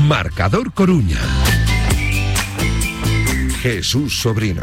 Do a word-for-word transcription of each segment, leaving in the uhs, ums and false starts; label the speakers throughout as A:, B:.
A: Marcador Coruña. Jesús Sobrino.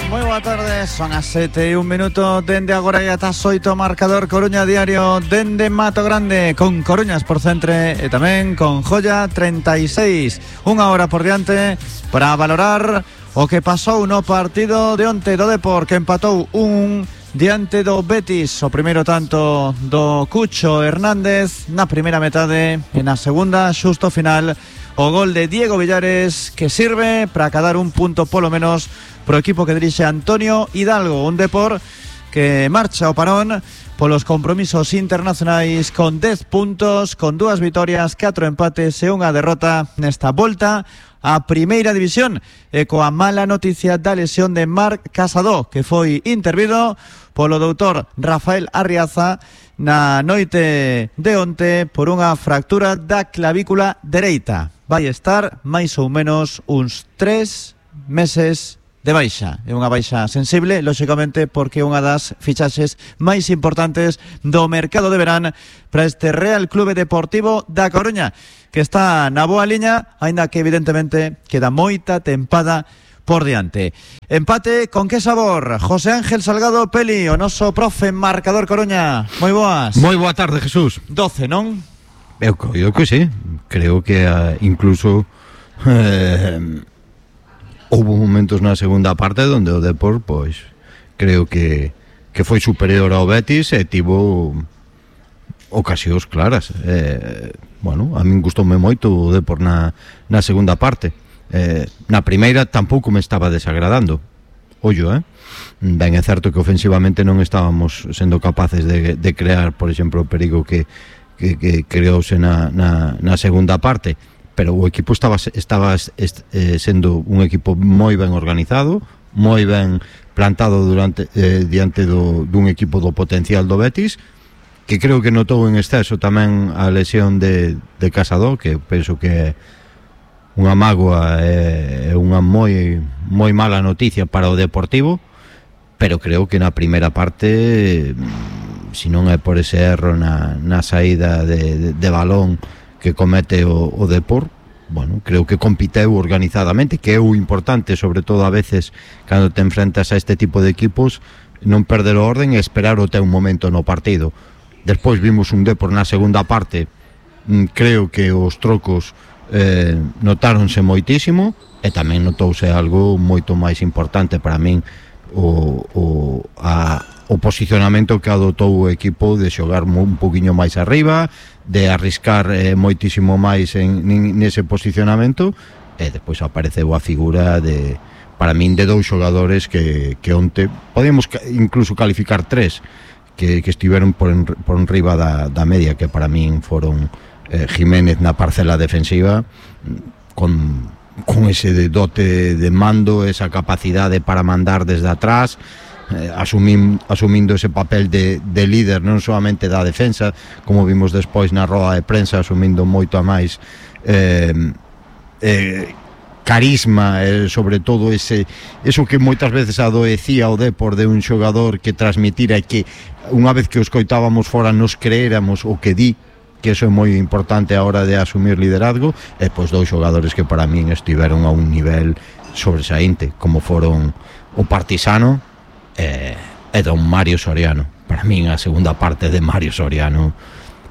B: Moi boa tarde, son as sete e un minuto. Dende agora e ata as oito, Marcador Coruña Diario dende Mato Grande, con Coruñas por centre e tamén con Joia treinta e seis. Unha hora por diante para valorar o que pasou no partido de onte do Depor, que empatou un diante do Betis. O primeiro tanto do Cucho Hernández na primeira metade, e na segunda, xusto final, o gol de Diego Villares, que sirve para cadar un punto polo menos pro equipo que dirixe Antonio Hidalgo. Un Depor que marcha ao parón polos compromisos internacionais con dez puntos, con dúas vitorias, catro empates e unha derrota nesta volta a Primeira División, e coa mala noticia da lesión de Marc Casado, que foi intervido polo doutor Rafael Arriaza na noite de onte por unha fractura da clavícula dereita. Vai estar máis ou menos uns tres meses de baixa. É unha baixa sensible, lóxicamente, porque é unha das fichaxes máis importantes do mercado de verán para este Real Clube Deportivo da Coruña, que está na boa liña, aínda que evidentemente queda moita tempada por diante. Empate con que sabor? José Ángel Salgado Peli, o noso profe Marcador Coruña. Moi boas.
C: Moi boa tarde, Jesús.
B: doce, non?
C: Eu creo que sí. Creo que uh, incluso eh, houve momentos na segunda parte onde o Depor, pois, creo que que foi superior ao Betis e tivo ocasións claras. Eh, bueno, a min gustoume moito o Depor na, na segunda parte. Eh, na primeira tampouco me estaba desagradando. Ollo, eh? Ben, é certo que ofensivamente non estábamos sendo capaces de, de crear, por exemplo, o perigo que, que, que creouse na, na, na segunda parte, pero o equipo estaba, estaba est, eh, sendo un equipo moi ben organizado, moi ben plantado durante eh, diante do, dun equipo do potencial do Betis, que creo que notou en exceso tamén a lesión de, de Casado, que penso que unha mágoa e unha moi moi mala noticia para o Deportivo, pero creo que na primeira parte, se non é por ese erro na, na saída de, de, de balón que comete o, o Depor, bueno, creo que compiteu organizadamente, que é o importante, sobre todo a veces cando te enfrentas a este tipo de equipos, non perder o orden e esperar o teu momento no partido. Despois vimos un Depor na segunda parte, creo que os trocos eh, notáronse moitísimo, e tamén notouse algo moito máis importante para min, o, o, a, o posicionamento que adotou o equipo de xogar un poquinho máis arriba, de arriscar eh, moitísimo máis en, nese posicionamento, e despois apareceu a figura de, para min, de dous xogadores que, que onte podemos incluso calificar tres, que, que estiveron por, en, por enriba da, da media, que para min foron eh, Jiménez na parcela defensiva, con, con ese dote de mando, esa capacidade para mandar desde atrás, eh, asumim, asumindo ese papel de, de líder non solamente da defensa, como vimos despois na roda de prensa, asumindo moito a máis eh, eh, carisma, eh, sobre todo ese eso que moitas veces adoecía o Depor de un xogador que transmitira e que unha vez que o escoitábamos fora nos creéramos o que di, que eso é moi importante a hora de asumir liderazgo. E pois dous xogadores que para min estiveron a un nivel sobresaínte, como foron o Partisano e, e don Mario Soriano. Para min a segunda parte de Mario Soriano,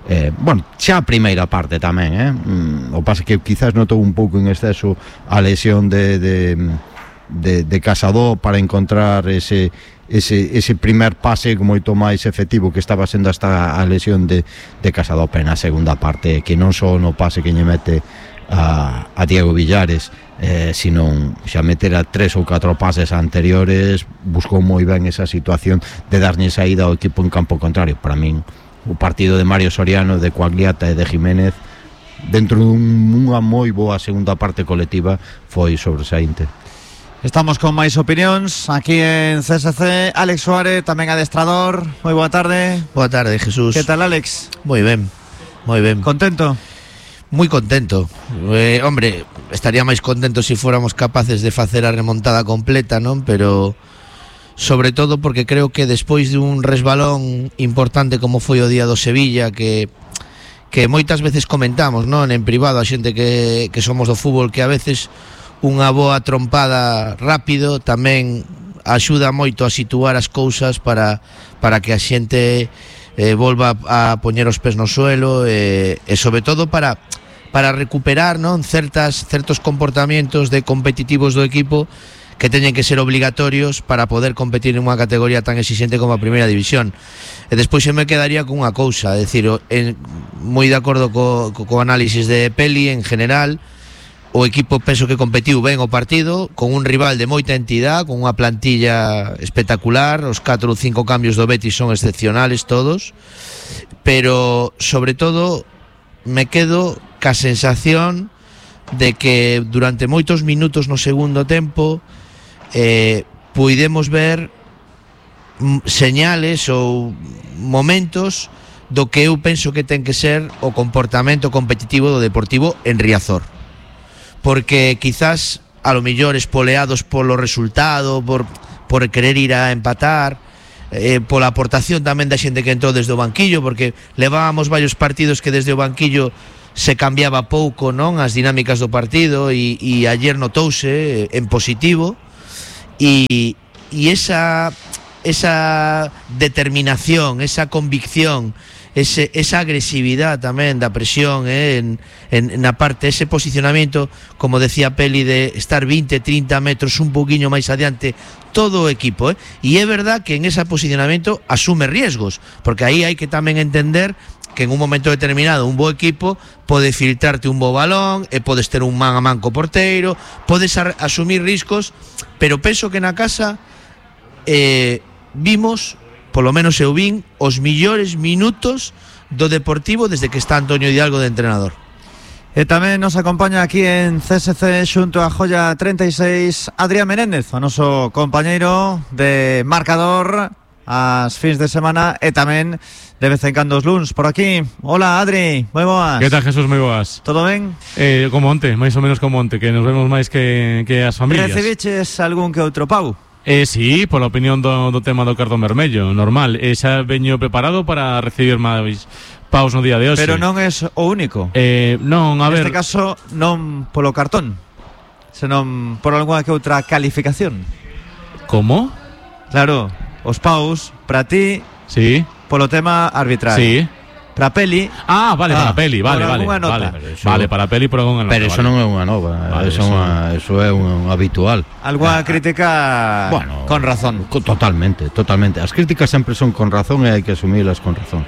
C: eh, bueno, xa a primeira parte tamén, eh? Mm, o pasa que quizás notou un pouco en exceso a lesión de, de, de, de Casado para encontrar ese ese, ese primer pase moito máis efectivo que estaba sendo hasta a lesión de, de Casado, pero na segunda parte, que non só no pase que lle mete a, a Diego Villares, eh, sino xa meter a tres ou catro pases anteriores, buscou moi ben esa situación de darlle saída ao equipo en campo contrario. Para min o partido de Mario Soriano, de Coagliata e de Jiménez, dentro dunha moi boa segunda parte colectiva, foi sobresaínte.
B: Estamos con máis opinións aquí en C S C. Alex Suárez, tamén adestrador. Moi boa tarde.
D: Boa tarde, Jesús.
B: Que tal, Alex?
D: Moi ben, moi ben.
B: Contento?
D: Moi contento. Eh, hombre, estaría máis contento se si fóramos capaces de facer a remontada completa, non? Pero sobre todo porque creo que despois dun resbalón importante como foi o día do Sevilla, que que moitas veces comentamos, non, en privado a xente que, que somos do fútbol, que a veces unha boa trompada rápido tamén axuda moito a situar as cousas para, para que a xente eh, volva a poñer os pés no suelo e, e sobre todo para, para recuperar, non, certas, certos comportamientos de competitivos do equipo que teñen que ser obligatorios para poder competir en unha categoría tan exigente como a primeira división. E despois se me quedaría con unha cousa, é dicir, en, moi de acordo co, co, co análisis de Peli en general. O equipo penso que competiu ben o partido, con un rival de moita entidade, con unha plantilla espectacular, os catro ou cinco cambios do Betis son excepcionales todos, pero sobre todo me quedo ca sensación de que durante moitos minutos no segundo tempo eh, puidemos ver señales ou momentos do que eu penso que ten que ser o comportamento competitivo do Deportivo en Riazor. Porque quizás a lo millor espoleados polo resultado, por, por querer ir a empatar, eh, pola aportación tamén da xente que entrou desde o banquillo, porque levábamos varios partidos que desde o banquillo se cambiaba pouco, non, as dinámicas do partido, e, e ayer notouse en positivo, e, e esa, esa determinación, esa convicción, Ese, esa agresividade tamén da presión, eh, en, en, na parte, ese posicionamento, como decía Peli, de estar veinte, trinta metros un poquinho máis adiante todo o equipo, eh? E é verdad que en ese posicionamento asume riesgos, porque aí hai que tamén entender que en un momento determinado un bo equipo pode filtrarte un bo balón e podes ter un man a man co porteiro, podes a, asumir riscos, pero penso que na casa eh, vimos, polo menos eu vin, os millores minutos do Deportivo desde que está Antonio Hidalgo de entrenador.
B: E tamén nos acompaña aquí en C S C xunto a Joya treinta e seis Adrián Menéndez, o noso compañeiro de marcador as fins de semana e tamén de vez en cando os luns por aquí. Hola Adri, moi boas.
E: Que tal, Jesús, moi boas.
B: Todo ben?
E: Eh, como onte, máis ou menos como onte, que nos vemos máis que, que as familias.
B: Recibiches algún que outro pau?
E: Eh, sí, pola opinión do, do tema do cartón vermello, normal. E xa veño preparado para recibir máis paus no día de hoxe.
B: Pero non é o único.
E: Eh, non, a ver...
B: Neste caso, non polo cartón, senón por algunha que outra calificación.
E: Como?
B: Claro, os paus, para ti,
E: sí,
B: polo tema arbitral.
E: Sí.
B: Para Peli.
E: Ah, vale,
B: ah,
E: para Peli, vale, vale.
B: Vale,
C: eso,
E: vale, para Peli por algunha nota.
C: Pero eso
E: vale.
C: non é unha nova,
E: vale,
C: eso,
E: eso...
C: Unha, eso é un, un habitual.
B: Algunha
C: Ah,
B: crítica
C: bueno,
B: con razón.
C: Totalmente, totalmente. As críticas sempre son con razón e hai que asumilas con razón.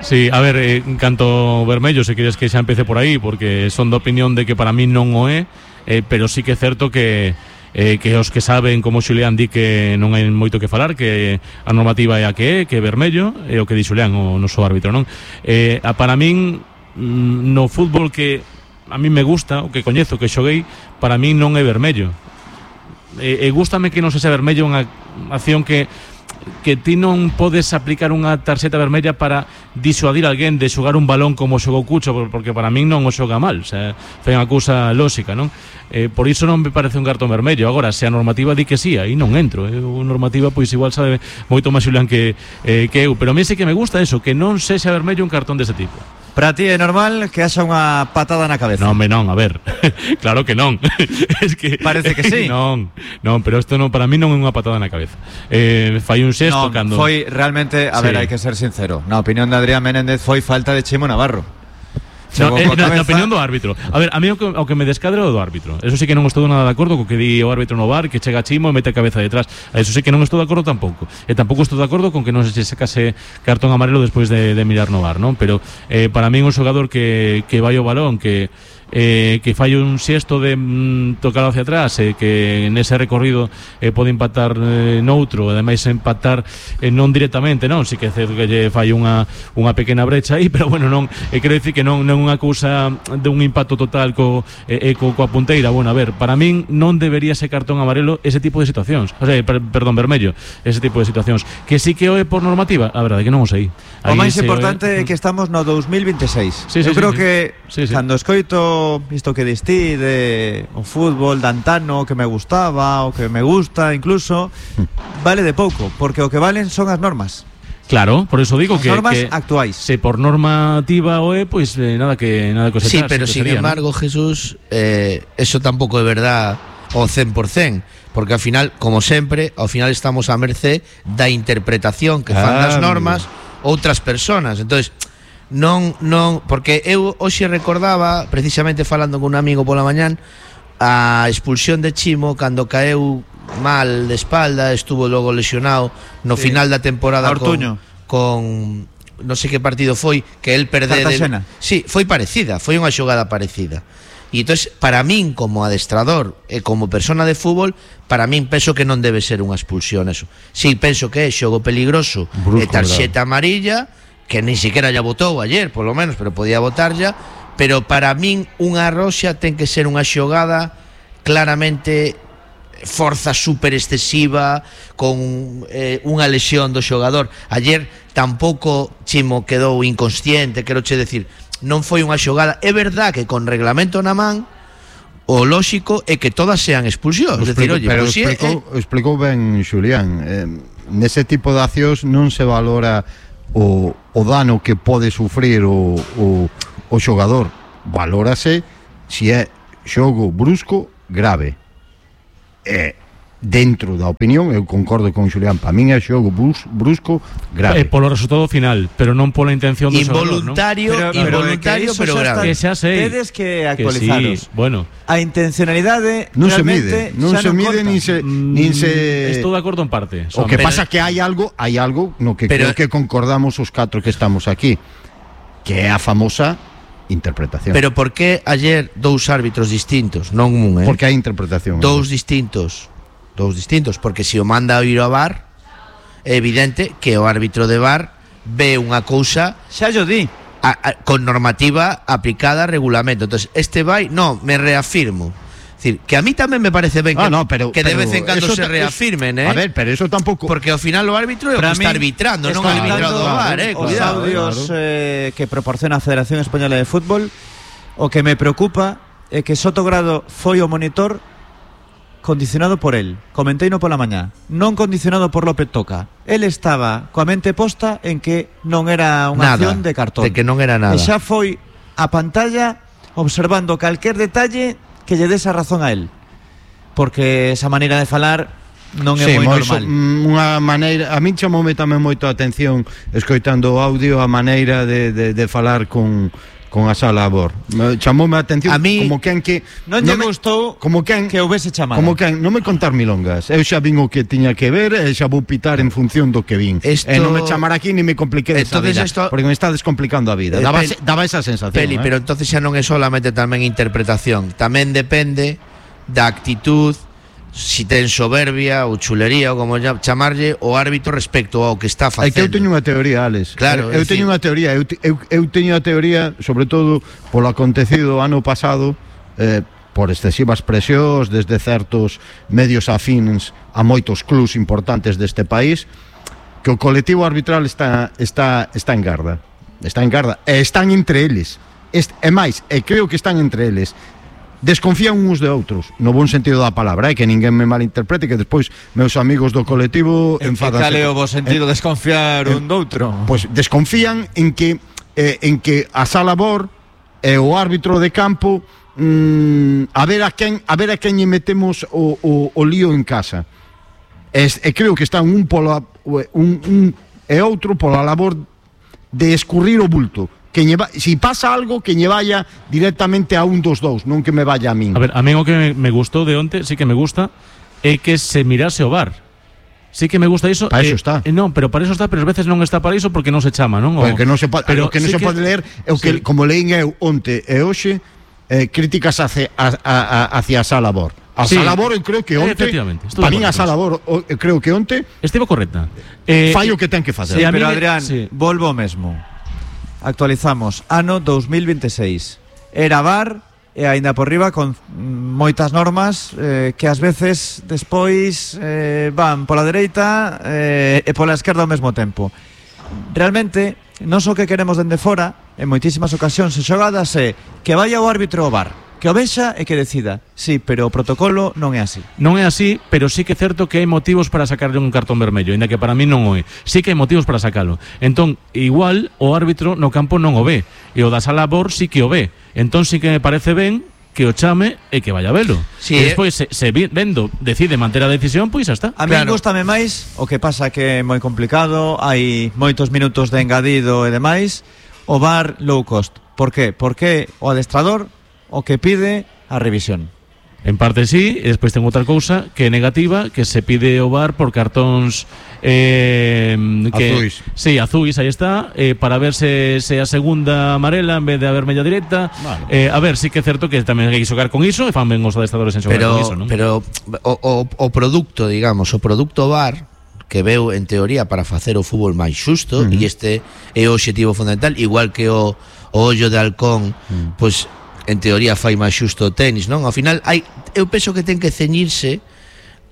E: Sí, a ver, eh, en canto vermello, se queres que xa empece por aí, porque son de opinión de que para mí non o é, eh, pero sí que é certo que eh, que os que saben, como Xulián di, que non hai moito que falar, que a normativa é a que é, que é vermello, é o que di Xulián, o noso árbitro, non? Eh, a para min, no fútbol que a mí me gusta, o que coñezo, que xoguei, para min non é vermello. E, e gústame que non se xa vermello unha acción que que ti non podes aplicar unha tarxeta vermella para disuadir a alguén de xogar un balón como xogou Cucho, porque para min non o xoga mal, o sea, foi unha cousa lóxica, non? Eh, por iso non me parece un cartón vermello. Agora, se a normativa di que sí, aí non entro, eh? A normativa pois igual sabe moito máis Xulián que, eh, que eu, pero a mí sí que me gusta eso, que non sexa vermello un cartón dese tipo.
B: Para ti é normal que haxa unha patada na cabeza?
E: Non, me non, a ver. Claro que non. Es que
B: parece que sí.
E: Non, non, pero isto non, para mí non é unha patada na cabeza. Eh, fai un xesto
B: non,
E: cando
B: foi realmente, a
E: sí.
B: ver, hai que ser sincero. Na opinión de Adrián Menéndez foi falta de Chimo Navarro.
E: No, eh, na, na opinión do árbitro. A ver, a mí o que, o que me descadra o do árbitro. Eso sí que non estou nada de acordo co que di o árbitro no V A R, que chega Chimo e mete a cabeza detrás. Eso sí que non estou de acordo tampouco. E tampouco estou de acordo con que non se sacase cartón amarelo despois de, de mirar no V A R, non? Pero eh, para mí un xogador que, que vai ao balón, que eh, que fai un xesto de mm, tocar hacia atrás, eh, que nese recorrido eh, pode empatar eh, noutro, ademais empatar eh, non directamente, non? Si que é certo que lle fai unha, unha pequena brecha aí, pero bueno, non, eh, quero dicir que non, non é unha cousa de un impacto total co, eh, co, coa punteira. Bueno, a ver, para min non debería ser cartón amarelo ese tipo de situacións, o sea, per, perdón, vermello, ese tipo de situacións, que sí que o é por normativa, a verdade que non o sei.
B: O máis importante é que estamos no dos mil veintiséis.
E: Sí, sí,
B: Eu
E: sí,
B: creo
E: sí.
B: que
E: sí, sí.
B: cando escoito isto que distí de o fútbol de antano, que me gustaba o que me gusta incluso, vale de pouco, porque o que valen son as normas.
E: Claro, por eso digo
B: As
E: que
B: normas
E: que
B: actuais.
E: se por normativa o é, pois eh, nada que nada que
D: Sí,
E: cosechar,
D: pero
E: que
D: sin
E: sería,
D: embargo, Jesús, eh, eso tampouco é verdad ao cen por cen, porque ao final, como sempre, ao final estamos a mercé da interpretación que fan das
C: Ah,
D: normas outras personas. Entonces, non non porque eu hoxe recordaba, precisamente falando con un amigo pola mañán, a expulsión de Chimo cando caeu mal de espalda, estuvo logo lesionado no
B: Sí.
D: final da temporada
B: Ortuño.
D: con, con non sei que partido foi que el perde de,
B: Cartaxena.
D: sí, foi parecida, foi unha xogada parecida. E entonces, para min como adestrador e como persona de fútbol, para min penso que non debe ser unha expulsión eso. Si, sí, penso que é xogo peligroso
C: Brusco,
D: e tarxeta amarilla, que ni siquiera ya votou ayer, polo menos, pero podía votar ya, pero para min unha roxa ten que ser unha xogada claramente forza super excesiva con eh, unha lesión do xogador. Ayer tampouco Chimo quedou inconsciente, quero che decir, non foi unha xogada. É verdad que con reglamento na man o lóxico é que todas sean expulsións, é dicir, oye,
C: pero
D: pues, si é,
C: explicou,
D: é,
C: explicou ben Xulián, eh, nese tipo de accións non se valora o, o dano que pode sufrir o, o, o xogador, valórase se é xogo brusco grave. E dentro da opinión, eu concordo con Xulián, para min é xogo brus, brusco grave.
E: Eh, polo resultado final, pero non pola intención do xogador, non?
D: involuntario,
B: Pero- pero
D: involuntario,
B: é que iso
D: pero
B: xa está-
D: grave.
E: Que xa sei.
B: Tedes que
E: Que
B: actualizaros.
E: sí, bueno,
B: A intencionalidade
C: Non se
B: realmente
C: mide, non
B: xa
C: se mide
B: conta.
C: nin se nin se
E: mm, estou de acordo en parte.
C: O
E: Son-
C: que
D: Pero-
C: pasa que hai algo, hai algo no que
D: Pero-
C: creo que concordamos os catro que estamos aquí, que é a famosa interpretación.
D: Pero por que ayer dous árbitros distintos, non un, eh?
C: Porque hai interpretación.
D: dous distintos, dous distintos, porque se o manda a ir ao V A R, é evidente que o árbitro de V A R ve unha cousa
B: Xa yo di.
D: a, a, con normativa aplicada a regulamento. Entonces, este vai, no, me reafirmo. Es decir, que a mí tamén me parece ben que,
C: Ah, no, pero,
D: que de
C: pero
D: vez en cando
C: eso
D: se
C: ta-
D: reafirmen, eh?
C: A ver, pero eso tampouco.
D: Porque ao final o árbitro é o
B: Para
D: que está
B: min,
D: arbitrando, non o
B: escoitando
D: arbitrado do V A R, eh?
B: os
D: Cuidado, eh.
B: audios eh, que proporciona a Federación Española de Fútbol, o que me preocupa é que Sotogrado foi o monitor condicionado por él. Comenteino pola mañá, non condicionado por López Toca. El estaba coa mente posta en que non era unha
D: Nada,
B: acción de cartón.
D: de que non era nada.
B: E xa foi a pantalla observando calquer detalle que lle des a razón a él. Porque esa maneira de falar non é
C: Sí,
B: moi
C: moi
B: normal.
C: so- mm, unha maneira, a min chamoume tamén moito a atención escoitando o audio a maneira de, de, de falar con con a Sala Abor. Me- Chamoume a atención
D: A mí-
C: como quen que
B: Non lle
C: me-
B: gustou
C: como quen
B: que houvese chamada.
C: Como quen, non me contar milongas. Eu xa vin o que tiña que ver e xa vou pitar en función do que vin.
D: Esto-
C: E non me chamar aquí ni me compliqué esa
D: Entonces
C: vida,
D: esto-
C: porque me está descomplicando a vida.
D: Eh,
C: Daba,
D: Pel-
C: daba esa sensación.
D: Peli,
C: eh.
D: pero entonces xa non é solamente tamén interpretación, tamén depende da actitud, si ten soberbia ou chulería ou como lla- chamarlle o árbitro respecto ao que está
C: É que eu
D: facendo.
C: teño unha teoría, Alex.
D: Claro,
C: eu, eu
D: é
C: teño
D: dicir-
C: unha teoría, eu, te- eu, eu teño a teoría, sobre todo polo acontecido ano pasado, eh, por excesivas presións desde certos medios afines a moitos clubs importantes deste país, que o colectivo arbitral está está está en garda. Está en garda e están entre eles. Est, e máis, e creo que están entre eles. Desconfían uns de outros, no bon sentido da palabra, eh, que ninguén me malinterprete, que despois meus amigos do colectivo enfadanse.
B: Cal é o bo sentido
C: Eh,
B: de desconfiar un doutro?
C: Pois desconfían en que eh, en que a Sala Bor e o árbitro de campo mm, a ver a quen a ver a quen lle metemos o, o, o lío en casa. E, e creo que están un polo un, un e outro pola labor de escurrir o bulto. Que lle va, si pasa algo que lle vaya directamente a un dos dous, non que me vaya a min.
E: A ver, a mí o que me, me gustou de onte, sí que me gusta, é que se mirase o V A R. Sí que me gusta iso.
C: Para iso
E: eh,
C: está.
E: eh, non, pero para iso está, pero ás veces non está para iso porque non se chama, non? O-
C: Porque non se pode,
E: pero
C: o que non
E: sí
C: se pode ler é o que,
E: sí.
C: como leín eu onte e hoxe, eh, críticas hacia a, a, a, hacia a Sala Bor. A
E: Sí.
C: Sala Bor eu creo que
E: Eh,
C: onte,
E: efectivamente, estou
C: para
E: de
C: min a
E: acordo
C: Sala Bor o- eu creo que onte
E: Estivo correcta. Eh,
C: fai o que ten que facer.
B: Sí,
E: a mí
B: pero
E: me-
B: Adrián,
E: sí.
B: volvo ao mesmo. Actualizamos ano dos mil veintiséis. Era V A R e aínda por riba con mm, moitas normas eh, que ás veces despois eh, van pola dereita eh, e pola esquerda ao mesmo tempo. Realmente, non só que queremos dende fora, en moitísimas ocasións e xogadas é que vaya o árbitro ao V A R. que o vexa e que decida. Sí, pero o protocolo non é así.
E: Non é así, pero sí que é certo que hai motivos para sacarle un cartón vermello, ainda que para mí non o é. Sí que hai motivos para sacalo. Entón, igual o árbitro no campo non o ve, e o da sala B O R sí que o ve. Entón sí que me parece ben que o chame e que vaya a velo.
D: Sí,
E: e despois, se, se vendo, decide manter a decisión, pois xa está.
B: A mí
D: Claro.
B: gustame máis, o que pasa que é moi complicado, hai moitos minutos de engadido e demais, o V A R low cost. Por qué? Porque o adestrador o que pide a revisión.
E: En parte sí, e despois ten outra cousa que é negativa, que se pide o V A R por cartóns eh, que,
C: Azuis.
E: Sí, azuis, aí está, eh, para ver se, se a segunda amarela en vez de a vermella directa.
C: Vale.
E: eh, A ver, sí que é certo que tamén hai que xogar con iso, e fan ben os adestradores en xogar
D: Pero,
E: con iso, non?
D: pero o, o, o produto, digamos, o produto V A R que veu en teoría para facer o fútbol máis xusto,
C: Uh-huh.
D: e este é o obxectivo fundamental, igual que o, o ollo de halcón,
C: Uh-huh.
D: pois en teoría fai máis xusto o tenis, non? Ao final hai, eu penso que ten que ceñirse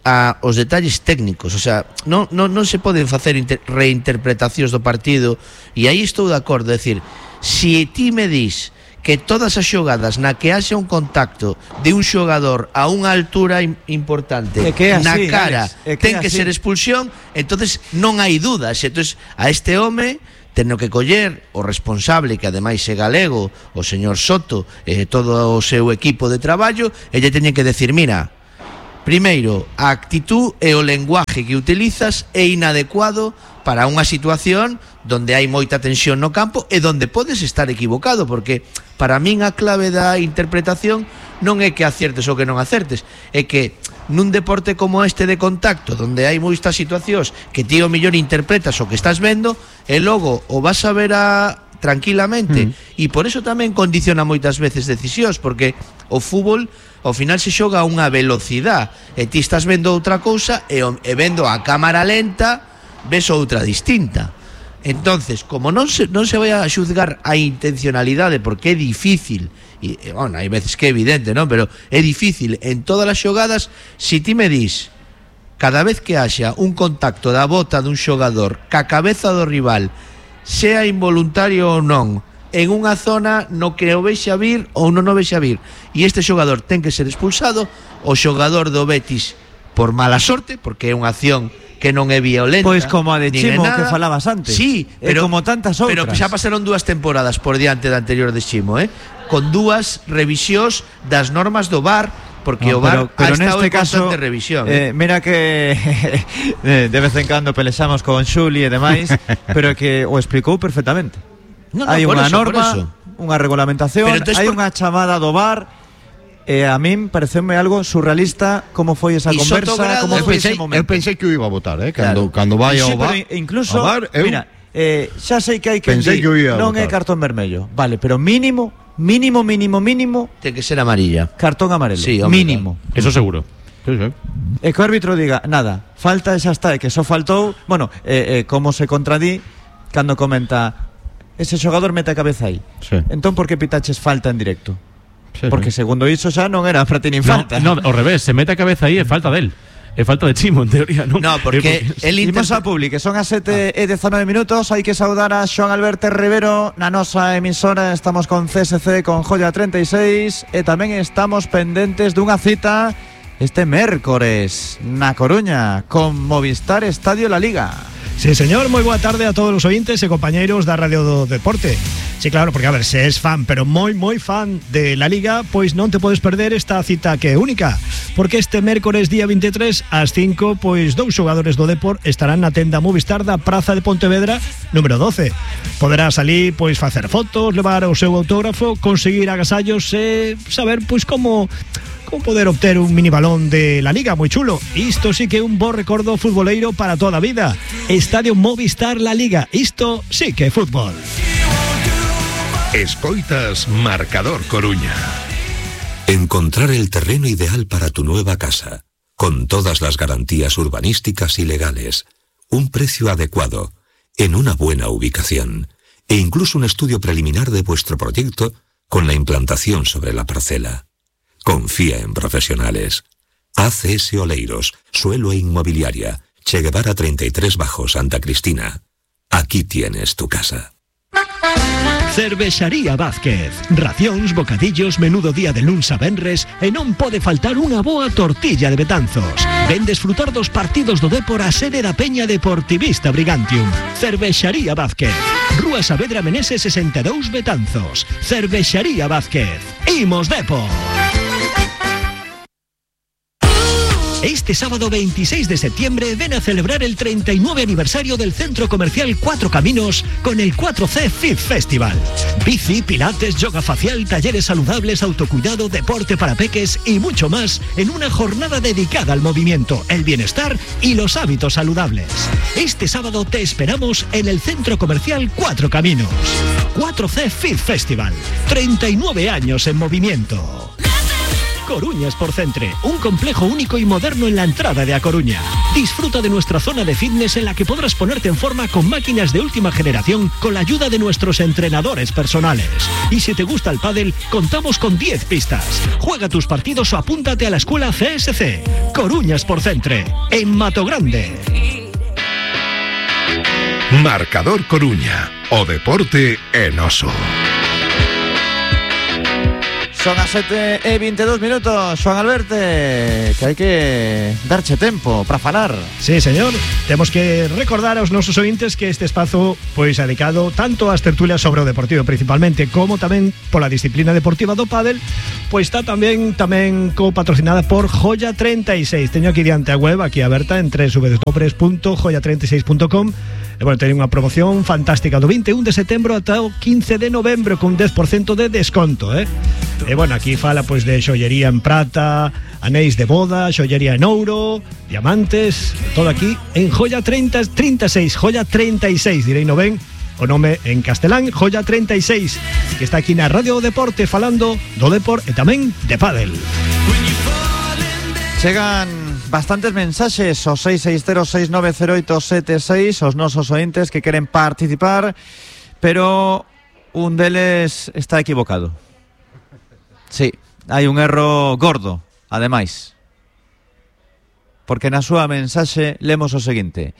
D: a os detalles técnicos, o sea, non, non, non se poden facer inter, reinterpretacións do partido, e aí estou de acordo, é dicir, se ti me dis que todas as xogadas na que haxa un contacto de un xogador a unha altura im- importante
B: É que é
D: na
B: así,
D: cara
B: Alex, é que
D: ten
B: é
D: que
B: así.
D: ser expulsión, entonces non hai dudas. Entonces a este home teno que coller o responsable, que ademais é galego, o señor Soto, e todo o seu equipo de traballo, e lle teñen que decir, mira, primeiro, a actitud e o lenguaje que utilizas é inadecuado para unha situación donde hai moita tensión no campo e donde podes estar equivocado, porque para min a clave da interpretación non é que aciertes ou que non acertes, é que nun deporte como este de contacto, donde hai moitas situacións que ti o mellor interpretas o que estás vendo e logo o vas a ver a tranquilamente, mm. e por eso tamén condiciona moitas veces decisións, porque o fútbol ao final se xoga a unha velocidade e ti estás vendo outra cousa e, o- e vendo a cámara lenta ves outra distinta. Entonces, como non se, non se vai a xuzgar a intencionalidade, porque é difícil, e, e bueno, hai veces que é evidente, non? Pero é difícil en todas as xogadas. Si ti me dis cada vez que haxa un contacto da bota dun xogador ca cabeza do rival, sea involuntario ou non, en unha zona no que o vexa vir ou non o vexa vir, e este xogador ten que ser expulsado, o xogador do Betis por mala sorte, porque é unha acción que non é violenta,
B: Pois como a de
D: nin é
B: Chimo
D: nada.
B: que falabas antes.
D: Sí,
B: E
D: pero
B: como tantas
D: Pero
B: outras.
D: xa pasaron dúas temporadas por diante da anterior de Chimo, eh? Con dúas revisións das normas do V A R, porque
B: No,
D: o V A R
B: pero, pero
D: ha estado
B: neste
D: en
B: caso,
D: constante revisión.
B: eh, mira que eh, de vez en cando pelexamos con Xuli e demais, pero que o explicou perfectamente.
D: No, no,
B: Hai
D: por
B: unha
D: eso, por
B: norma,
D: eso.
B: unha regulamentación,
D: Pero entonces
B: hai
D: por-
B: unha chamada do V A R. E a min pareceume algo surrealista como foi esa
D: E
B: conversa,
D: Sotogrado-
B: como
C: Eu
B: foi
C: pensei,
B: ese
C: eu
B: momento.
C: pensei que o iba a votar, eh? Cando,
D: Claro.
C: cando vai
B: Sí,
C: ao
B: pero
C: V A R,
B: incluso,
C: ao V A R, eu,
B: mira, eh, xa sei que hai que
C: Pensei que o ia
B: non é
C: votar.
B: cartón vermello, vale, pero mínimo, mínimo, mínimo, mínimo
D: Ten que ser amarilla.
B: cartón amarelo,
D: Sí, hombre,
B: mínimo.
E: Eso seguro.
C: sí, sí.
B: E que o árbitro diga, nada, falta e xa está, e que só faltou, bueno, eh, eh, como se contradí cando comenta ese xogador mete a cabeza aí.
C: Sí.
B: Entón por que pitaches falta en directo?
C: Sí,
B: Porque
C: sí.
B: segundo iso xa non era para ti nin
E: No,
B: falta.
E: no, ao revés, se mete a cabeza aí é falta del. É falta de Chimo, en teoría, non?
D: No, porque
E: É
D: el
B: Imos
D: interpre-
B: a Publi, que son as sete e dezanove minutos. Hai que saudar a Xoan Alberto Rivero na nosa emisora. Estamos con C S C, con Joya treinta e seis, e tamén estamos pendentes dunha cita este mércores na Coruña con Movistar Estadio La Liga.
F: Sí, señor, moi boa tarde a todos os ointes e compañeiros da Radio do Deporte. Sí, claro, porque a ver, se es fan, pero moi, moi fan de La Liga, pois non te podes perder esta cita que é única, porque este mércores día veintitrés ás cinco, pois dous xogadores do Depor estarán na tenda Movistar da Praza de Pontevedra número doce. Poderás ali, pois, facer fotos, levar o seu autógrafo, conseguir agasallos e saber, pois, como... como poder obter un mini balón de La Liga moi chulo. Isto sí que é un bo recordo futboleiro para toda a vida. Estadio Movistar La Liga. Isto sí que é fútbol.
A: Escoitas Marcador Coruña.
G: Encontrar el terreno ideal para tu nueva casa, con todas las garantías urbanísticas y legales, un precio adecuado, en una buena ubicación, e incluso un estudio preliminar de vuestro proyecto con la implantación sobre la parcela. Confía en profesionales. A C S Oleiros, Suelo e Inmobiliaria, Che Guevara treinta y tres bajo Santa Cristina. Aquí tienes tu casa.
F: Cervexaría Vázquez. Racións, bocadillos, menudo día de luns a venres e non pode faltar unha boa tortilla de Betanzos. Ven desfrutar dos partidos do Dépor a sede da Peña Deportivista Brigantium. Cervexaría Vázquez. Rúa Saavedra Meneses sesenta e dous Betanzos. Cervexaría Vázquez. Imos Dépor. Este sábado veintiséis de septiembre ven a celebrar el treinta y nueve aniversario del Centro Comercial Cuatro Caminos con el cuatro C Fit Festival. Bici, pilates, yoga facial, talleres saludables, autocuidado, deporte para peques y mucho más en una jornada dedicada al movimiento, el bienestar y los hábitos saludables. Este sábado te esperamos en el Centro Comercial Cuatro Caminos. cuatro C Fit Festival. treinta y nueve años en movimiento. Coruña Sportcentre, un complejo único y moderno en la entrada de A Coruña. Disfruta de nuestra zona de fitness en la que podrás ponerte en forma con máquinas de última generación con la ayuda de nuestros entrenadores personales. Y si te gusta el pádel, contamos con diez pistas. Juega tus partidos o apúntate a la escuela C S C. Coruña Sportcentre, en Matogrande.
A: Marcador Coruña, o deporte en oso.
B: Son as sete e veintidós minutos, Xoan Alberte, que hai que darche tempo para falar.
F: Sí, señor. Temos que recordar aos nosos ointes que este espazo pois é dedicado tanto ás tertulias sobre o deportivo principalmente, como tamén pola disciplina deportiva do pádel, pois está tamén tamén co-patrocinada por Joya treinta e seis. Teño aquí diante a web, aquí aberta en doble u doble u doble u punto joya treinta e seis punto com. E bueno, teñen unha promoción fantástica do vinte e un de setembro ata o quince de novembro con dez por ciento de desconto, eh? E bueno, aquí fala pois de xollería en prata, anéis de boda, xollería en ouro, diamantes, todo aquí en Joya treinta e seis, Joya treinta e seis, direi no ben o nome en castelán, Joya treinta e seis, que está aquí na Radio Deporte falando do Dépor e tamén de pádel.
B: Chegan bastantes mensaxes ao seis seis cero seis nove cero oito sete seis os nosos ointes que queren participar, pero un deles está equivocado. Sí, hai un erro gordo, ademais, porque na súa mensaxe lemos o seguinte: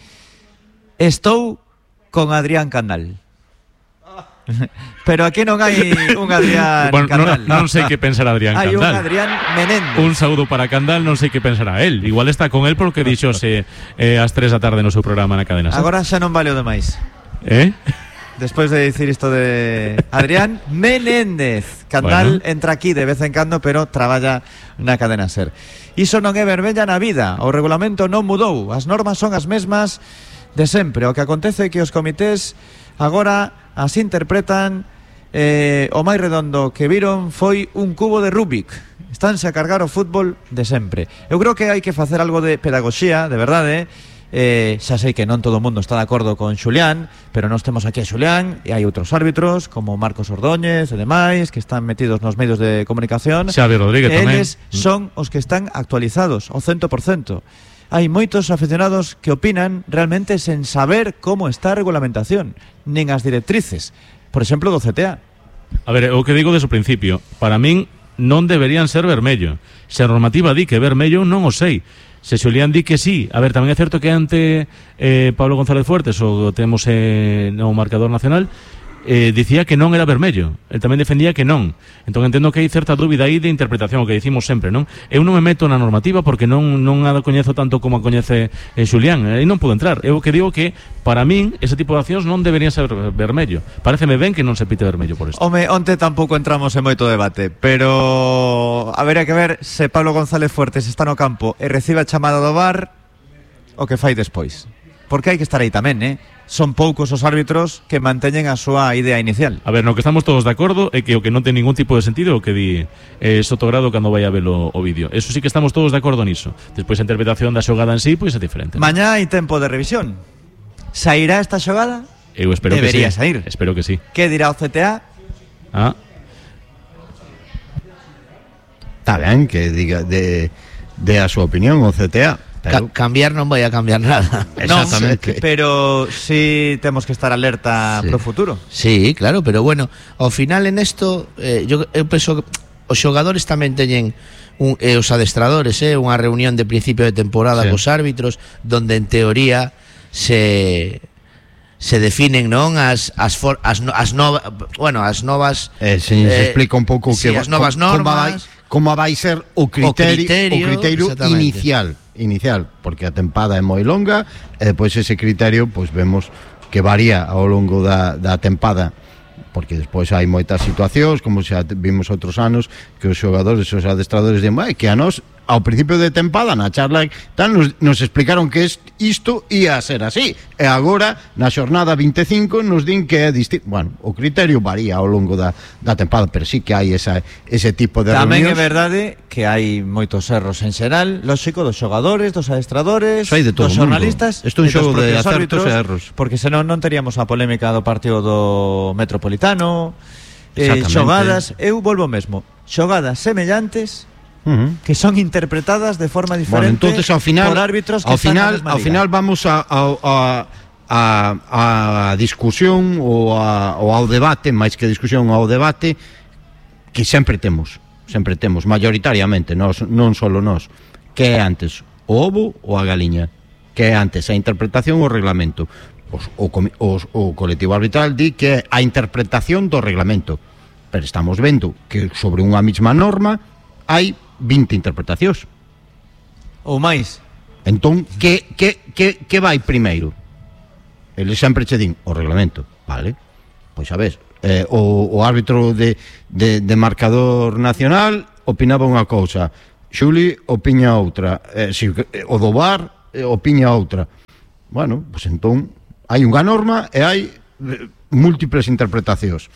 B: estou con Adrián Candal. Pero aquí non hai un Adrián
E: bueno,
B: Candal.
E: Non, non sei que pensar Adrián
B: hai
E: Candal.
B: Hai un Adrián Menéndez.
E: Un saúdo para Candal, non sei que pensará él. Igual está con él porque dixose eh, ás tres da tarde no seu programa na cadena.
B: Agora xa non vale o demais.
E: Eh?
B: Despois de dicir isto de Adrián Menéndez. Candal bueno. entra aquí de vez en cando, pero traballa na cadena SER. Iso non é verbella na vida. O regulamento non mudou. As normas son as mesmas de sempre. O que acontece é que os comités agora as interpretan. eh, O máis redondo que viron foi un cubo de Rubik. Estánse a cargar o fútbol de sempre. Eu creo que hai que facer algo de pedagogía, de verdade. Eh, xa sei que non todo o mundo está de acordo con Xulián, pero nós temos aquí a Xulián e hai outros árbitros como Marcos Ordóñez e demais que están metidos nos medios de comunicación.
E: Xavi Rodríguez tamén.
B: Eles son os que están actualizados ao cento por cento. Hai moitos aficionados que opinan realmente sen saber como está a regulamentación, nin as directrices, por exemplo do C T A.
E: A ver, o que digo desde o principio, para min non deberían ser vermello. Se a normativa di que vermello, non o sei. Se Xulián di que sí. A ver, tamén é certo que ante eh, Pablo González Fuertes, o temos eh, no marcador nacional, eh, dicía que non era vermello. El tamén defendía que non. Entón entendo que hai certa dúbida aí de interpretación, o que dicimos sempre, non? Eu non me meto na normativa porque non non a coñezo tanto como a coñece eh, Xulián. Aí non podo entrar. Eu que digo que para min ese tipo de accións non deberían ser vermello. Paréceme ben que non se pite vermello por isto.
B: Home, onte tampouco entramos en moito debate, pero habería que ver se Pablo González Fuertes está no campo e recibe a chamada do V A R o que fai despois. Porque hai que estar aí tamén, eh? Son poucos os árbitros que manteñen a súa idea inicial.
E: A ver, no que estamos todos de acordo é que o que non ten ningún tipo de sentido é o que di eh, Sotogrado cando vai a ver o, o vídeo. Eso sí que estamos todos de acordo niso. Despois a interpretación da xogada en sí, pois é diferente.
B: Mañá hai tempo de revisión. Sairá esta xogada?
E: Eu espero
B: Debería
E: que sí.
B: sair.
E: Espero que sí.
B: Que dirá o C T A?
E: Ah.
C: Está ben que diga de, de a súa opinión o C T A.
D: Ca- cambiar non vai a cambiar nada.
C: Exactamente.
B: No, pero sí temos que estar alerta
D: Sí.
B: pro futuro.
D: Sí, claro, pero bueno, ao final en esto eh, yo, eu penso que os xogadores tamén teñen un, eh, os adestradores, eh, unha reunión de principio de temporada
C: Sí.
D: cos árbitros donde en teoría se se definen, non, as as for, as, no, as novas, bueno, as novas
C: eh, se, eh, se explica un pouco
D: sí,
C: que
D: as novas
C: como,
D: normas,
C: como vai ser o criterio, o criterio, o criterio inicial, inicial, porque a tempada é moi longa e depois ese criterio, pois vemos que varía ao longo da, da tempada, porque despois hai moitas situacións, como xa vimos outros anos, que os xogadores, os adestradores din, que a nós ao principio de tempada na charla tal, nos, nos explicaron que isto ia a ser así, e agora na xornada vinte e cinco nos din que é distinto. Bueno, o criterio varía ao longo da, da tempada, pero sí que hai esa, ese tipo de
B: tamén
C: reunións.
B: É verdade que hai moitos erros en xeral, lógico, dos xogadores, dos adestradores, dos xornalistas,
C: isto é un xogo de acertos e erros,
B: porque senón non teríamos a polémica do partido do Metropolitano, eh, xogadas, eu volvo mesmo, xogadas semellantes, Uh-huh. que son interpretadas de forma diferente,
C: bueno, entonces, ao final,
B: por árbitros que
C: ao final,
B: están
C: ao final vamos a, a, a, a discusión ou, a, ou ao debate, máis que discusión, ao debate que sempre temos, sempre temos mayoritariamente, nós, non solo nós, que é antes o ovo ou a galiña, que é antes a interpretación ou o reglamento. Os, o, os, o colectivo arbitral di que é a interpretación do reglamento, pero estamos vendo que sobre unha mesma norma hai vinte interpretacións
B: ou máis.
C: Entón, que, que, que, que vai primeiro? Eles sempre che din o reglamento, vale? Pois a ver, eh, o, o árbitro de, de, de marcador nacional opinaba unha cousa, Xuli opina outra, eh, si, o do V A R eh, opina outra. Bueno, pois entón hai unha norma e hai eh, múltiples interpretacións.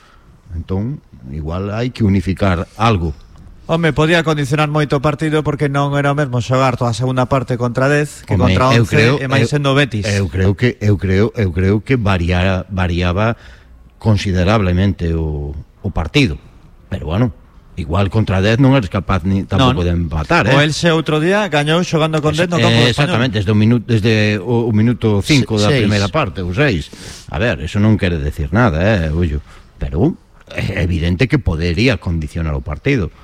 C: Entón, igual hai que unificar algo.
B: Home, podía condicionar moito o partido porque non era o mesmo xogar toda a segunda parte contra dez que
C: Home,
B: contra once
C: creo,
B: e máis sendo Betis.
C: Eu creo que eu creo eu creo que variara, variaba considerablemente o, o partido. Pero bueno, igual contra dez non eres capaz ni tampouco de empatar, eh.
B: O Elxe outro día gañou xogando con dez no campo
C: eh,
B: español.
C: Exactamente, desde o minuto desde o, o minuto cinco da
D: seis.
C: primeira parte, ou seis. A ver, eso non quere decir nada, eh, ollo. Pero é evidente que podería condicionar o partido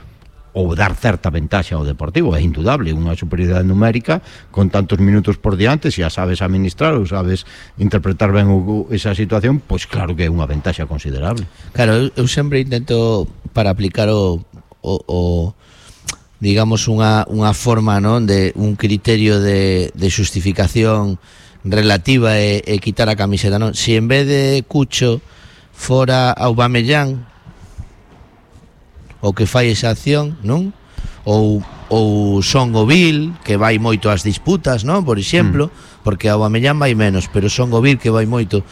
C: ou dar certa ventaxa ao Deportivo, é indudable, unha superioridade numérica con tantos minutos por diante, se a sabes administrar ou sabes interpretar ben o, esa situación, pois claro que é unha ventaxa considerable.
D: Claro, eu, eu sempre intento para aplicar o, o, o digamos unha, unha forma, non, de un criterio de, de xustificación relativa e, e quitar a camiseta, non? Si en vez de Cucho fora Aubameyang o que fai esa acción, non? Ou, ou Son Govil, que vai moito ás disputas, non? Por exemplo, mm. porque Aubameyang vai menos, pero Son Govil que vai moito.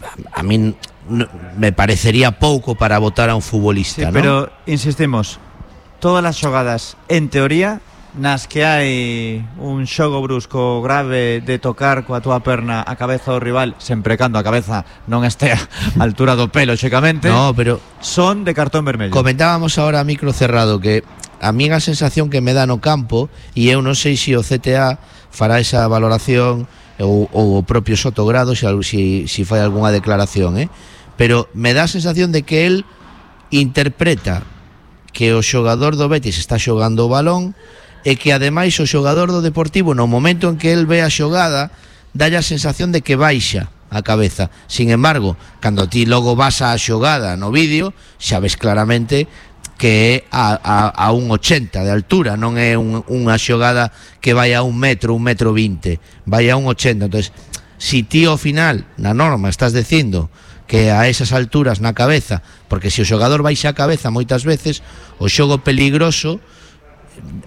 D: A, a min no, me parecería pouco para votar a un futbolista,
B: sí,
D: non?
B: Pero insistimos, todas as xogadas en teoría nas que hai un xogo brusco grave de tocar coa túa perna a cabeza do rival, sempre cando a cabeza non este a altura do pelo, xecamente,
D: no, pero
B: son de cartón vermello.
D: Comentábamos agora a micro cerrado que a mí a sensación que me dá no campo, e eu non sei se o C T A fará esa valoración ou, ou o propio Sotogrado se si, si fai algunha declaración, eh? Pero me dá a sensación de que el interpreta que o xogador do Betis está xogando o balón e que ademais o xogador do Deportivo no momento en que el ve a xogada dalle a sensación de que baixa a cabeza. Sin embargo, cando ti logo vas a xogada no vídeo, xa ves claramente que é a, a, a un ochenta de altura, non é un, unha xogada que vai a un metro, un metro vinte, vai a un ochenta. Entonces, si ti ao final na norma estás dicindo que a esas alturas na cabeza, porque se o xogador baixa a cabeza moitas veces, o xogo peligroso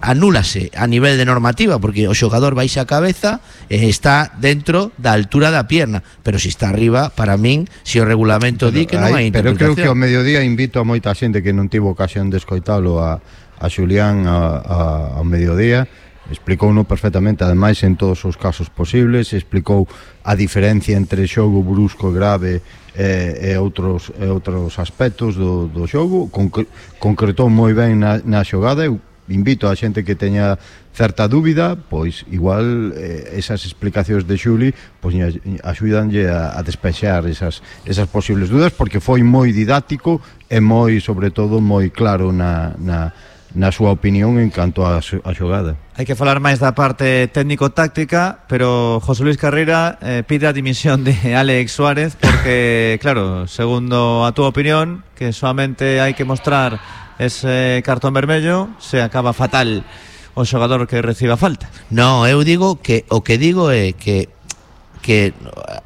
D: anúlase a nivel de normativa, porque o xogador baixa a cabeza e está dentro da altura da pierna, pero se está arriba, para min, se o regulamento di que non hai
C: interpretación. Pero creo que ao mediodía invito a moita xente que non tivo ocasión de escoitalo a, a Xulián a, a, ao mediodía. Explicouno perfectamente, ademais en todos os casos posibles, explicou a diferencia entre xogo brusco grave e, e outros e outros aspectos do, do xogo, Concre, concretou moi ben na, na xogada. Eu invito a xente que teña certa dúbida, pois igual eh, esas explicacións de Xuli pois axudanlle a, a despexar esas, esas posibles dúdas, porque foi moi didáctico e moi, sobre todo, moi claro na, na, na súa opinión en canto a, a xogada.
B: Hai que falar máis da parte técnico-táctica, pero José Luis Carreira eh, pide a dimisión de Alex Suárez porque, claro, segundo a túa opinión, que solamente hai que mostrar ese cartón vermello, se acaba fatal o xogador que reciba falta.
D: No, eu digo que o que digo é que que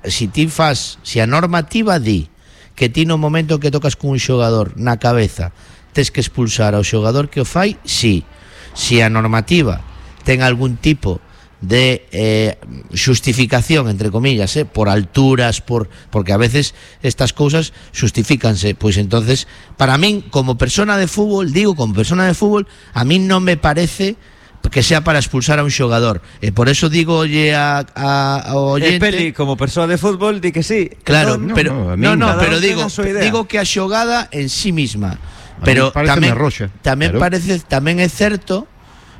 D: si ti fas, si a normativa di que ti no momento que tocas con un xogador na cabeza tes que expulsar ao xogador que o fai, sí. Si a normativa ten algún tipo de eh, xustificación, entre comillas, eh, por alturas, por porque a veces estas cousas xustifícanse, pois entonces, para min, como persona de fútbol, digo, como persona de fútbol, a min non me parece que sea para expulsar a un xogador, e por eso digo oye a, a, a oyente,
B: el Peli como persona de fútbol di que sí,
D: claro,
B: no,
D: pero
C: no,
D: no, no,
B: no
D: pero digo digo que a xogada en sí misma, pero tamén tamén claro. parece tamén é certo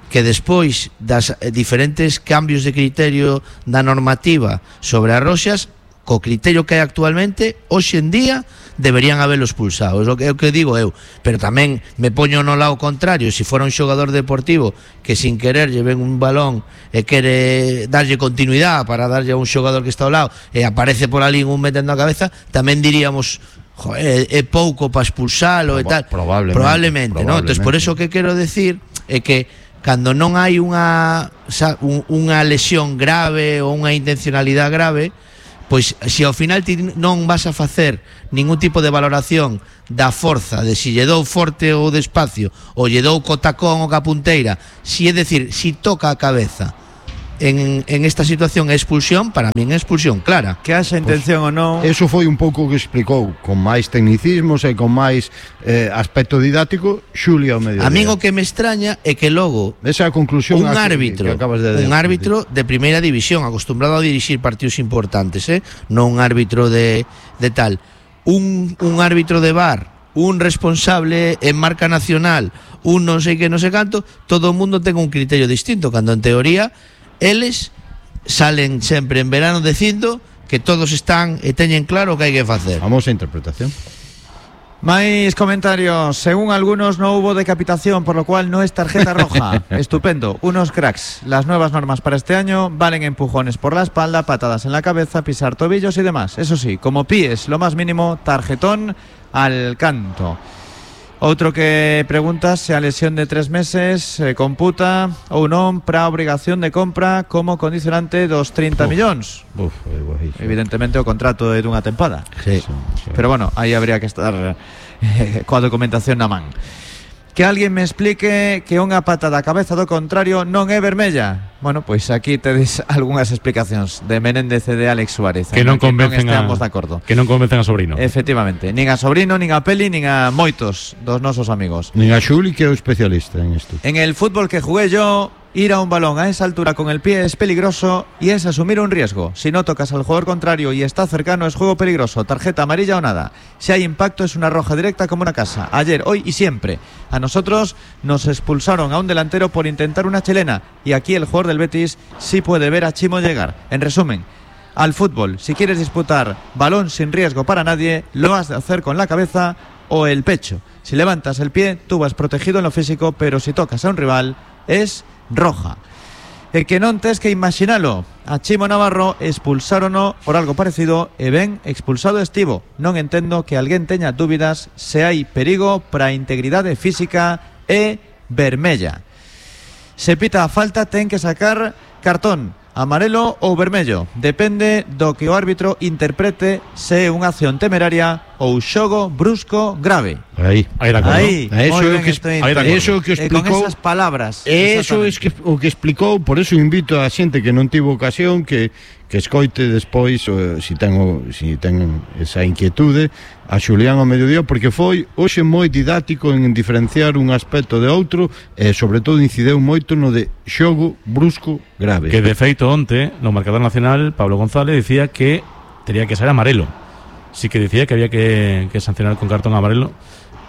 D: que despois das diferentes cambios de criterio da normativa sobre as roxas, co criterio que hai actualmente, hoxe en día deberían haberlo expulsado, é o que, é o que digo eu, pero tamén me poño no lado contrario, se si fora un xogador deportivo que sin querer lle ven un balón e quere darlle continuidade para darlle a un xogador que está ao lado e aparece por ali un metendo a cabeza, tamén diríamos joder, é pouco para expulsalo e tal,
C: probablemente,
D: probablemente,
C: probablemente.
D: ¿no? Entonces, por eso que quero decir é que cando non hai unha unha lesión grave ou unha intencionalidade grave, pois se ao final ti non vas a facer ningún tipo de valoración da forza, de si lle dou forte ou despacio, ou lle dou co tacón ou ca punteira, si é decir, si toca a cabeza en, en esta situación é expulsión, para min é expulsión clara.
B: Que haxa intención pues, ou non.
C: Eso foi un pouco que explicou con máis tecnicismos e con máis eh, aspecto didáctico Xulia ao mediodía.
D: A min o que me extraña é que logo
C: esa é a conclusión
D: un árbitro,
C: que acabas de
D: un árbitro de primeira división, acostumbrado a dirixir partidos importantes, eh? Non un árbitro de, de tal, un, un árbitro de V A R, un responsable en marca nacional, un non sei que non sei canto, todo o mundo ten un criterio distinto, cando en teoría eles salen sempre en verano dicindo que todos están e teñen claro o que hai que facer.
C: Vamos a interpretación.
B: Máis comentarios. Según algunos no hubo decapitación, por lo cual no es tarjeta roja. Estupendo, unos cracks. Las nuevas normas para este año valen empujones por la espalda, patadas en la cabeza, pisar tobillos y demás. Eso sí, como pies, lo más mínimo, tarjetón al canto. Outro que pregunta se a lesión de tres meses se computa ou non para a obrigación de compra como condicionante dos trinta millóns.
C: Uf,
B: evidentemente o contrato é dunha tempada.
D: Sí.
B: Pero bueno, aí habría que estar eh, coa documentación na man. Que alguén me explique que unha pata da cabeza do contrario non é vermella. Bueno, pois aquí tedes algunhas explicacións de Menéndez e de Alex Suárez
E: que non convencen
B: a,
E: de
B: acordo.
E: Que non convencen a Sobrino.
B: Efectivamente, nin a Sobrino, nin a Peli, nin a moitos dos nosos amigos.
C: Nin a Xuli, que é o especialista en isto.
B: En el fútbol que jugué yo, ir a un balón a esa altura con el pie es peligroso y es asumir un riesgo. Si no tocas al jugador contrario y está cercano es juego peligroso, tarjeta amarilla o nada. Si hay impacto es una roja directa como una casa. Ayer, hoy y siempre. A nosotros nos expulsaron a un delantero por intentar una chilena y aquí el jugador del Betis sí puede ver a Chimo llegar. En resumen, al fútbol, si quieres disputar balón sin riesgo para nadie, lo has de hacer con la cabeza o el pecho. Si levantas el pie, tú vas protegido en lo físico, pero si tocas a un rival, es roja. E que non tes que imaginalo, a Chimo Navarro expulsárono por algo parecido e ben expulsado estivo. Non entendo que alguén teña dúbidas se hai perigo para a integridade física e vermella. Se pita a falta ten que sacar cartón amarelo ou vermello, depende do que o árbitro interprete se é unha acción temeraria ou xogo brusco grave.
C: Aí,
E: aí de acordo.
B: Aí,
C: eso é o que, eso que explicou.
B: E con esas palabras.
C: Eso é que, o que explicou, por eso invito a xente que non tivo ocasión que que escoite despois o, si ten o, si ten esa inquietude a Xulián ao mediodía, porque foi hoxe moi didáctico en diferenciar un aspecto de outro e sobre todo incideu moito no de xogo brusco grave.
E: Que de feito onte no marcador nacional Pablo González dicía que tería que ser amarelo. Sí que dicía que había que, que sancionar con cartón amarelo.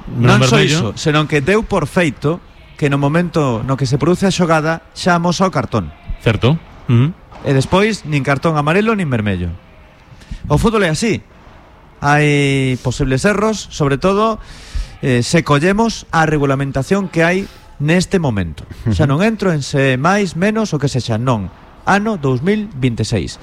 B: Non só iso, senón que deu por feito que no momento no que se produce a xogada xa amosa o cartón.
E: Certo. Uh -huh.
B: E despois nin cartón amarelo nin vermello. O fútbol é así. Hai posibles erros, sobre todo eh, se collemos a regulamentación que hai neste momento. Xa non entro en se máis, menos o que sexa, non. Ano dous mil vinte e seis.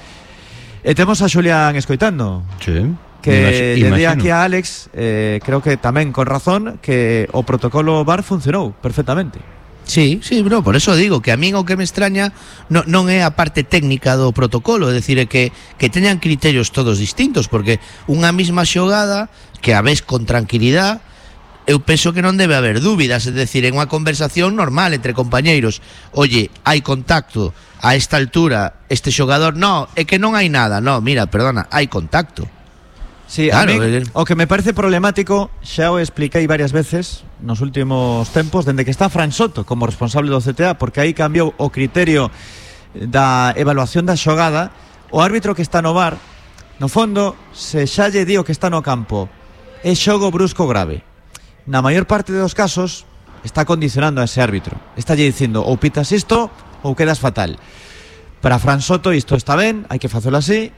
B: E temos a Xulián escoitando.
C: Sí.
B: Que lle di
C: Imagino.
B: aquí a Alex, eh, creo que tamén con razón, que o protocolo V A R funcionou perfectamente.
D: Sí, sí, bro, por eso digo que a min o que me extraña no, non é a parte técnica do protocolo, é dicir, é que, que teñan criterios todos distintos, porque unha mesma xogada que a ves con tranquilidade, eu penso que non debe haber dúbidas, é dicir, en unha conversación normal entre compañeiros, oye, hai contacto a esta altura, este xogador, no, é que non hai nada, no, mira, perdona, hai contacto.
B: Sí,
D: Claro,
B: a mí,
D: eh.
B: o que me parece problemático, xa o expliquei varias veces nos últimos tempos, dende que está Fran Soto como responsable do C T A, porque aí cambiou o criterio da evaluación da xogada. O árbitro que está no V A R, no fondo, se xa lle di o que está no campo é xogo brusco grave, na maior parte dos casos está condicionando a ese árbitro, está lle dicindo ou pitas isto ou quedas fatal. Para Fran Soto isto está ben, hai que facelo así.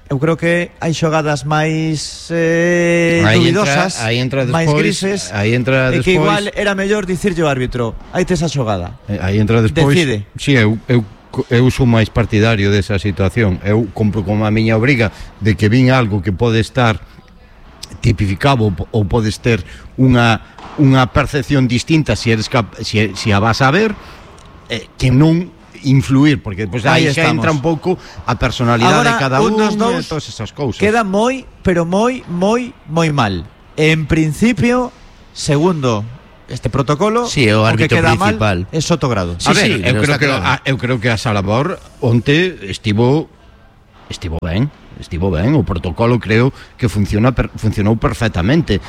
B: Eu creo que hai xogadas máis eh,
C: Aí
B: duvidosas,
C: entra- aí entra
B: máis
C: despois-
B: grises,
C: aí entra
B: e que
C: despois-
B: igual era mellor dicirlle ao árbitro, hai tes a xogada.
C: Eh, Aí entra despois.
B: Decide.
C: Si, sí, eu, eu, eu sou máis partidario desa situación. Eu compro como a miña obriga de que vin algo que pode estar tipificado ou podes ter unha unha percepción distinta se eres cap, se, se a vas a ver, eh, que non influir, porque depois
B: Aí
C: aí xa
B: estamos.
C: entra un pouco a personalidade
B: Agora,
C: de cada
B: un
C: un
B: dos dous
C: e todas esas cousas.
B: Queda moi, pero moi, moi, moi mal. En principio, segundo este protocolo,
D: Sí, é o
B: que
D: árbitro
B: queda
D: principal.
B: mal é Sotogrado.
D: Sí,
C: a ver,
D: sí,
C: eu
D: pero
C: creo
D: está
C: que
D: claro.
C: a, eu creo que a Salabor onte estivo estivo ben, estivo ben, o protocolo creo que funciona per, funcionou perfectamente.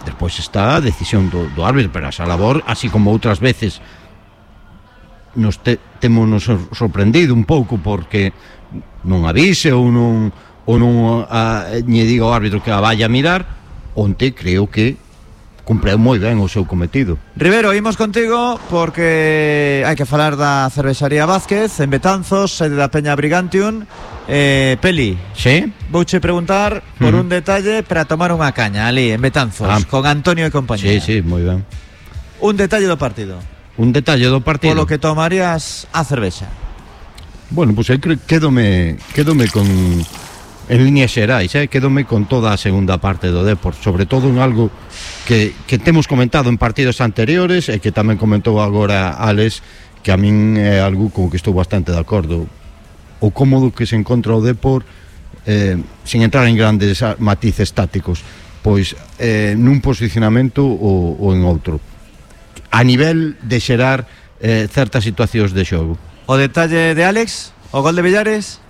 C: Despois está a decisión do, do árbitro, pero a Salabor, así como outras veces nos te, temos nos sor- sorprendido un pouco porque non avise ou non ou non a, lle diga ao árbitro que a vaya a mirar, onte creo que cumpreu moi ben o seu cometido.
B: Rivero, imos contigo porque hai que falar da cervexaría Vázquez en Betanzos, sede da Peña Brigantium. eh, Peli,
C: Sí?
B: vouche preguntar por
C: Ujú.
B: un detalle para tomar unha caña ali en Betanzos,
C: Ah.
B: con Antonio e compañía.
C: Sí, sí, moi ben.
B: Un detalle do partido,
C: Un detalle do partido.
B: polo que tomarías a cervexa.
C: Bueno, pois pues, eu creo quedome quedome con en líneas xerais, eh, quedome con toda a segunda parte do Depor, sobre todo en algo que, que temos comentado en partidos anteriores e que tamén comentou agora Alex, que a min é algo con que estou bastante de acordo. O cómodo que se encontra o Depor, eh, sin entrar en grandes ah, matices tácticos, pois eh, nun posicionamento ou, ou en outro, a nivel de xerar eh, certas situacións de xogo.
B: O detalle de Alex, o gol de Villares.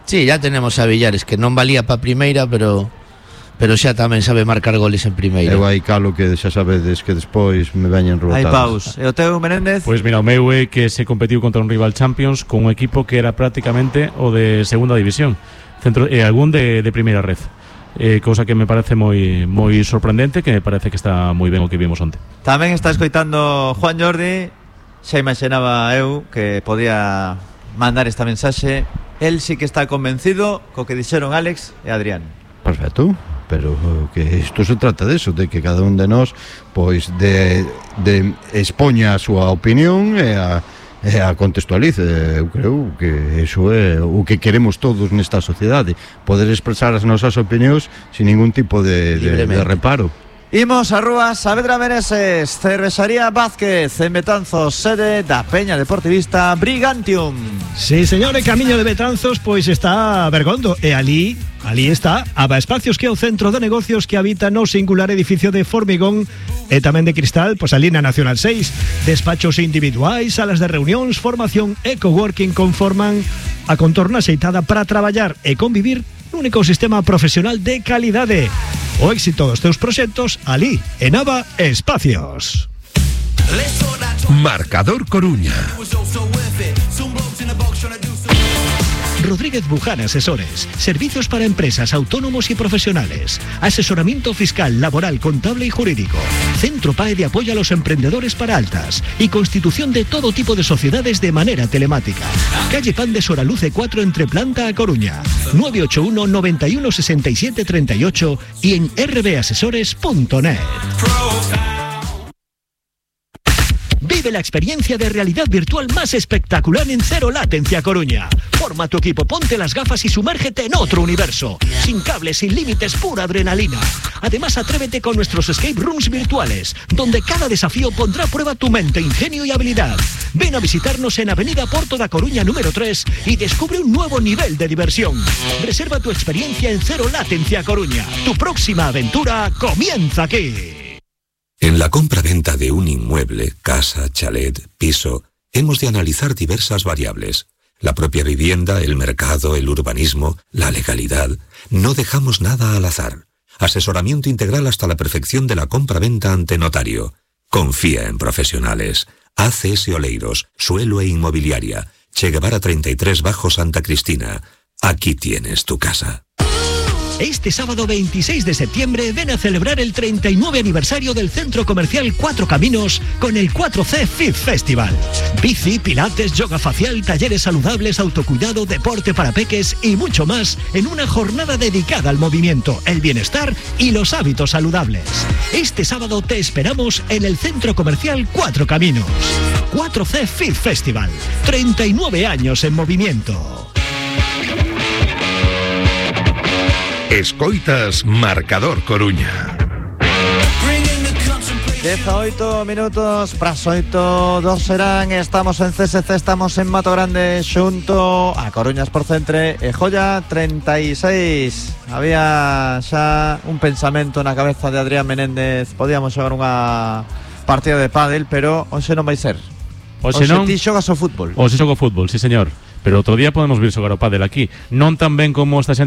D: Sí, ya tenemos a Villares, que non valía pa primeira, pero pero xa tamén sabe marcar goles en primeira.
C: Eu aí calo que xa sabedes que despois me veñen
B: Hai
C: rebotados.
B: paus. E o teu, Menéndez?
E: Pois mira, o meu é que se competiu contra un rival Champions con un equipo que era prácticamente o de segunda división, centro e algún de, de primeira red. Eh, cousa que me parece moi moi sorprendente, que me parece que está moi ben o que vimos onte.
B: Tamén está escoitando Juan Jordi. Xa imaginaba eu que podía mandar esta mensaxe. El sí que está convencido co que dixeron Alex e Adrián.
C: Perfecto, pero que isto se trata de eso, de que cada un de nós pois de, de expoña a súa opinión e a, e a contextualice. Eu creo que iso é o que queremos todos nesta sociedade, poder expresar as nosas opinións sin ningún tipo de, de, de reparo.
B: Imos a Rúa Saavedra Meneses, cervexaría Vázquez en Betanzos, sede da Peña Deportivista Brigantium.
F: Sí, señor, e camiño de Betanzos pois está Bergondo e ali, ali está Aba Espacios, que é o centro de negocios que habita no singular edificio de formigón e tamén de cristal, pois ali na Nacional seis. Despachos individuais, salas de reunións, formación e coworking conforman a contorna xeitada para traballar e convivir nun ecosistema profesional de calidade. O éxito dos teus proxectos ali en Aba Espacios.
A: Marcador Coruña.
F: Rodríguez Buján Asesores. Servicios para empresas, autónomos y profesionales. Asesoramiento fiscal, laboral, contable y jurídico. Centro P A E de apoyo a los emprendedores para altas. Y constitución de todo tipo de sociedades de manera telemática. Calle Pan de Soraluce cuatro entre Planta a Coruña. nueve ocho uno, noventa y uno, sesenta y siete, treinta y ocho y en r b asesores punto net. Vive Vive la experiencia de realidad virtual más espectacular en Cero Latencia Coruña. Forma tu equipo, ponte las gafas y sumérgete en otro universo. Sin cables, sin límites, pura adrenalina. Además, atrévete con nuestros escape rooms virtuales, donde cada desafío pondrá a prueba tu mente, ingenio y habilidad. Ven a visitarnos en Avenida Porto da Coruña número tres y descubre un nuevo nivel de diversión. Reserva tu experiencia en Cero Latencia Coruña. Tu próxima aventura comienza aquí.
G: En la compra-venta de un inmueble, casa, chalet, piso, hemos de analizar diversas variables. La propia vivienda, el mercado, el urbanismo, la legalidad. No dejamos nada al azar. Asesoramiento integral hasta la perfección de la compra-venta ante notario. Confía en profesionales. A C S Oleiros, Suelo e Inmobiliaria. Che Guevara treinta y tres Bajo Santa Cristina. Aquí tienes tu casa.
F: Este sábado veintiséis de septiembre ven a celebrar el treinta y nueve aniversario del Centro Comercial Cuatro Caminos con el cuatro C Fit Festival. Bici, pilates, yoga facial, talleres saludables, autocuidado, deporte para peques y mucho más en una jornada dedicada al movimiento, el bienestar y los hábitos saludables. Este sábado te esperamos en el Centro Comercial Cuatro Caminos. cuatro C Fit Festival. treinta y nueve años en movimiento.
A: Escoitas Marcador Coruña.
B: dieciocho minutos, pras oito, dos serán. Estamos en C S C, estamos en Mato Grande xunto a Coruñas por Centre e Joya treinta y seis. Había xa un pensamento na cabeza de Adrián Menéndez. Podíamos xogar unha partida de pádel, pero hoxe non vai ser.
E: Hoxe non.
B: Ti xogas o fútbol.
E: Hoxe xogo fútbol, sí señor. Pero outro día podemos vir xogar o pádel aquí. Non tan ben como esta xente